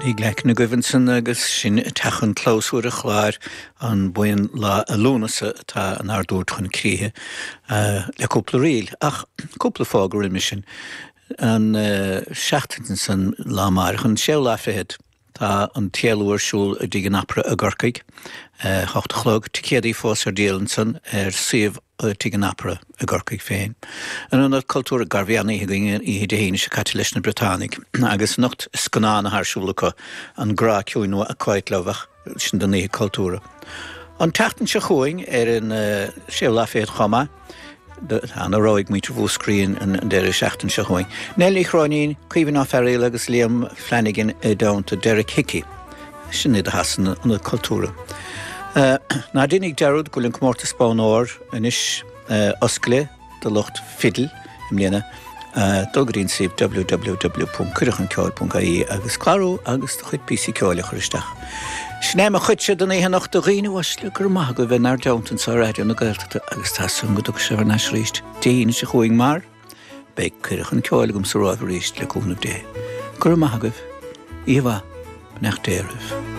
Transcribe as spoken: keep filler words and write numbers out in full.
Paddy Glackin agaibh ansan agus sin teach an chlabhsúir an Chláir an buíon Lá Lúnasa atá inár dtabhairt chun críche le cúpla ríl ach cúpla fógra roimhe sin an seachtain san lá amárach an séú lá fichead. Tá an t-éalú ar siúl i dTigh an Opera i gCorcaigh, hocht a chlog, ticéadaí fós ar díol ansan ar suíomh Tigh an Opera i gCorcaigh féin. An Ionad Cultúir gar bhí an-oíche againn oíche Dé hAoine seo caite leis na Briotánaigh agus anocht scannán atá ar siúl acu, An Grá Ciúin nó A Quiet Love ach sin don Oíche Cultúrtha. An tseachtain seo chugainn ar an séú lá fichead chomh maith, Tá ana-rogha ag muintir Mhúscraí an deireadh seachtaine seo chugainn. Nell Ní Chróinín, Caoimhín Ó Fearaíl agus Liam Flanagan i dteannta Derek Hickey. Sin iad atá san Ionad Cultúrtha. Ná déanaigí dearúd go bhfuil an comórtas Bonn Óir anois oscailte do lucht fidil i mbliana. Dul go dtí an suíomh www ponc cuireadhchunceoil ponc ie agus clárú agus do chuid píosaí ceoil a chur isteach. Sin é mo chuidse don oíche anocht a dhaoine uaisle, go raibh maith agaibh a bheith inár dteannta anseo ar Raidió na Gaeltachta agus tá súil agam go dtiocfaidh sibh thar n-ais arís Dé hAoine seo chugainn mar beidh cuireadh chun ceoil agamsa romhaibh arís le cúnamh Dé. Go raibh maith agaibh. Oíche mhaith. Beannacht Dé oraibh.